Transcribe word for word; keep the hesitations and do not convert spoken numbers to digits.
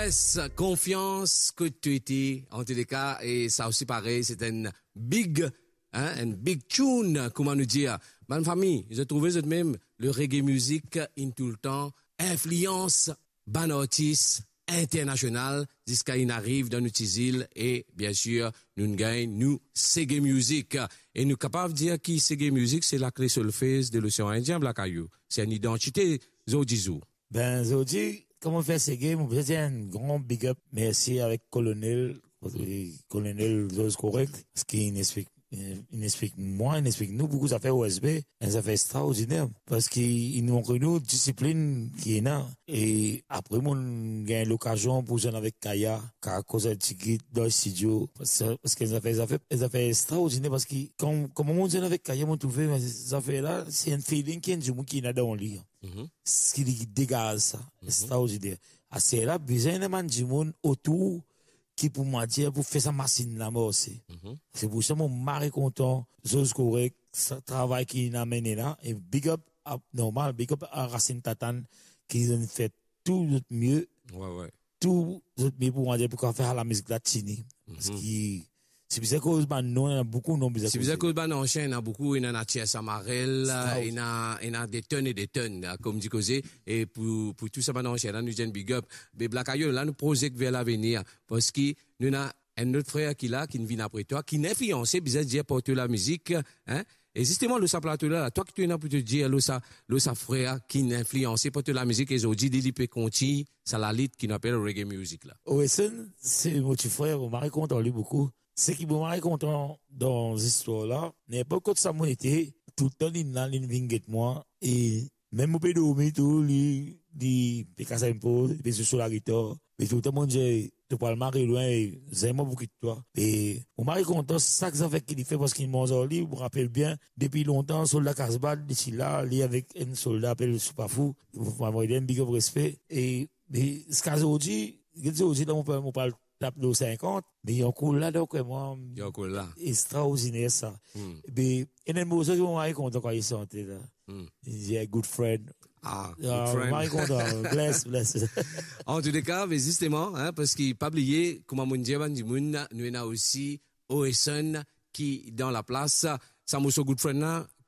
Konfians kot to ete, antouleka, e sa osi parey, se enn big, hein, enn big tune, kouma nou dir. Bann fami, zot trouve zot mem, le reggae music inn toultan inflians bann artis internasional, ziska inn ariv dan nou ti zil, e biensir, nou gagn nou Seggae Music. E nou kapav dir ki Seggae Music, se lakle solfez de l'Océan Indien, Black Ayou. Se enn idantite, zordi zour. Ben, zordi, kouma fer Seggae, mo bizin dir enn gran big up, mersi avek Kolonel, Kolonel Zoz Korek, parski inn explik, inn explik mwa, inn explik nou boukou zafer O S B, enn zafer extraordiner, parski inn montre nou disiplin ki ena. E apre, mo gagn lokazion pou zwenn avek Kaya, Kaya koz enn tigit dan studio, parski, parski enn zafer, zafer, enn zafer extraordiner, parski kan, kouma mo zwenn avek Kaya, mo trouve, me zafer la, se enn feeling ki enn dimoun ki ena dan li. Mhm. Si li degaz sa, mhm, extraordiner. Aster la, bizin ena bann dimoun otour ki pou, mo dir, pou fer sa masinn la marse. Mhm. Se pou sa mo mari kontan, Zoz Korek, sa travay ki inn amenn la, e big up, up, normal, big up a Racine Tatane, ki zot inn fer tou zot mie, ouais, ouais, tou zot mie pou, mo dir, pou kapav fer lamizik la tini. Mhm. Parski, si bizin koz bann non, ena boukou non bizin koze. Si bizin koz bann ansien, ena boukou, ena Natia Samarel, ena, ena de tonn e de tonn, kom di koze, e pou, pou tou sa bann ansien la, nou dir enn big up. Me Black Ayou, la nou projek ver lavenir, parski nou ena enn lot frer ki la, ki vinn apre twa, ki inn inflianse, bizin dir, par to lamizik, hein? E zisteman, lor sa plato la, la, twa ki to ena pou to dir lor sa, lor sa frer ki inn inflianse par to lamizik, e zordi li, li pe kontign sa lalit ki nou apel reggae music la. Oweson, se mo ti frer, mo mari kontan li boukou. Seki mo mari kontan dan zistwar la, ninport kot sa mo ete, toultan li la, li vinn get mwa, e mem mo pe dormi tou, li, li pe kas enn poz, li pe zwe so lagitar. Me toultan mo dir, to pou al mari lwin, e zame mo pou kit twa. E mo mari kontan sak zafer ki li fer, parski mo manz ar li, mo rapel bien, depi lontan, Solda Kasbah, li ti la, li avek enn solda apel Soupafou, mo rod enn big up, respe. E, me ziska zordi, get zordi la, mo pa, mo pa al tap lor sinkant, me li ankor la, donk, mwa, li ankor la. Extraordiner sa. Hmm. Be, ena enn morso ki mo mari kontan kan li sante la. Hmm. Li dir, "Good friend." Ah, ah, good friend. Mo mari kontan. Bless, bless. Antouleka, me zisteman, hein, parski pa bliye, kouma mo dir bann dimoun, nou ena osi Oweson ki dan laplas. Sa morso Good Friend la, ki